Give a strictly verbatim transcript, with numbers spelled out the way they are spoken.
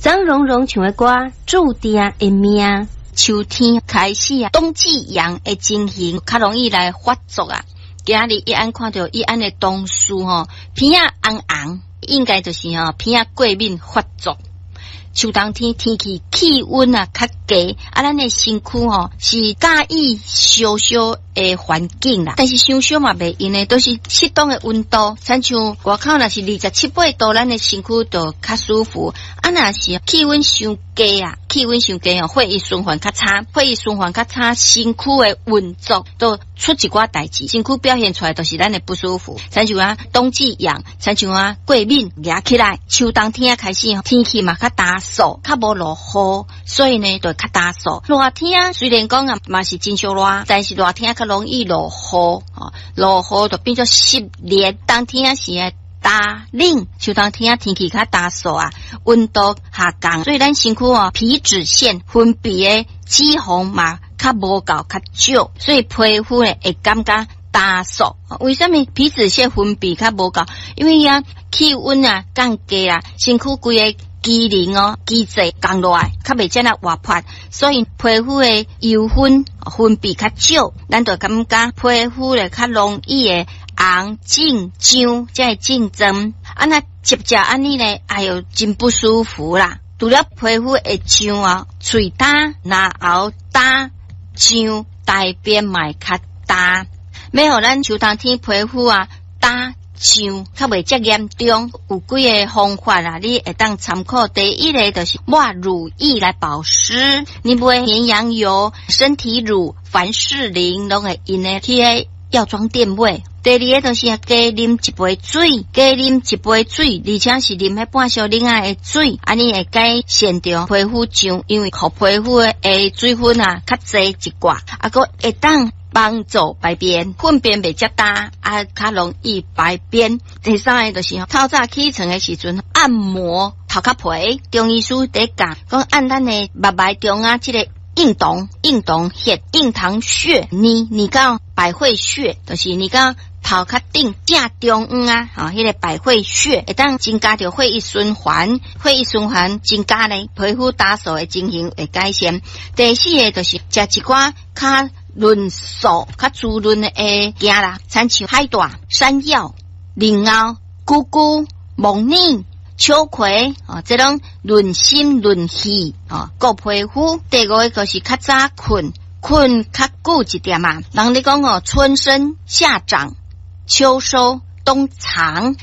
張榮榮唱的歌，注定的命。秋天開始啊，冬季癢的情形較容易來發作啊。今仔日一按看著一按的同事吼，鼻仔紅紅，應該就是吼鼻仔過敏發作。秋冬天天氣氣溫啊較低，啊，咱的身軀吼是佮意燒燒的環境啦。但是傷燒嘛袂用的，都是適當的溫度。親像外口若是二十七八度，咱的身軀就較舒服。啊，若是氣溫傷低啊，氣溫傷低哦，血液循環較差，血液循環較差，身軀的運作都出一寡代誌，身軀表現出來就是咱的不舒服。親像啊，冬季癢，親像啊，過敏惹起來，秋冬天開始天氣嘛較焦燥，較無落雨，所以呢，就較焦燥。熱天雖然講啊，嘛是真燒熱，但是熱天較容易落雨，哦，落雨就變做濕熱。冬天時的焦冷，秋冬天天氣較焦燥啊，溫度下降，所以咱身軀哦，皮脂腺分泌的脂肪嘛較無夠較少，所以皮膚呢會感覺焦燥。為啥物皮脂腺分泌較無夠？因為啊，氣溫啊降低啊，身軀規個機能哦，機制降落來，較袂遮爾活潑，所以皮膚的油分分泌較少，咱就感覺皮膚咧較容易會紅、腫、脹，這个症狀。啊，若接著按呢咧，哎喲，真不舒服啦！除了皮膚會脹啊，喙焦、嚨喉焦、脹，大便嘛會較焦。欲予咱秋冬天皮膚啊焦脹，較袂遮嚴重。有幾个方法啊，你會當參考。第一个就是抹乳液來保濕，你買綿羊油、身體乳、凡士林，攏會用的去彼藥妝店買。第二个就是加啉一杯水，加啉一杯水，而且是啉彼半小奶仔的水，按呢會改善著皮膚脹，因為予皮膚的水分啊較濟一寡，啊，閣會當幫助排便，糞便袂遮焦，啊，較容易排便。第三个就是透早起床的時陣，按摩頭殼皮，中醫師佇教講按咱的目眉中啊，這个印堂、印堂穴、印堂穴，捏捏到百會穴，就是捏到頭殼頂正中央啊，吼，彼个百會穴會當增加著血液循環，血液循環增加呢，皮膚焦燥的情形會改善。第四个就是食一寡較潤素、較滋潤的物件啦，親像海帶、山藥、蓮藕、菇菇、木耳、秋葵，哦，這攏潤心潤氣，哦，顧皮膚。第五个就是較早睏，睏較久一點啊。人咧講哦，春生夏長，秋收冬藏。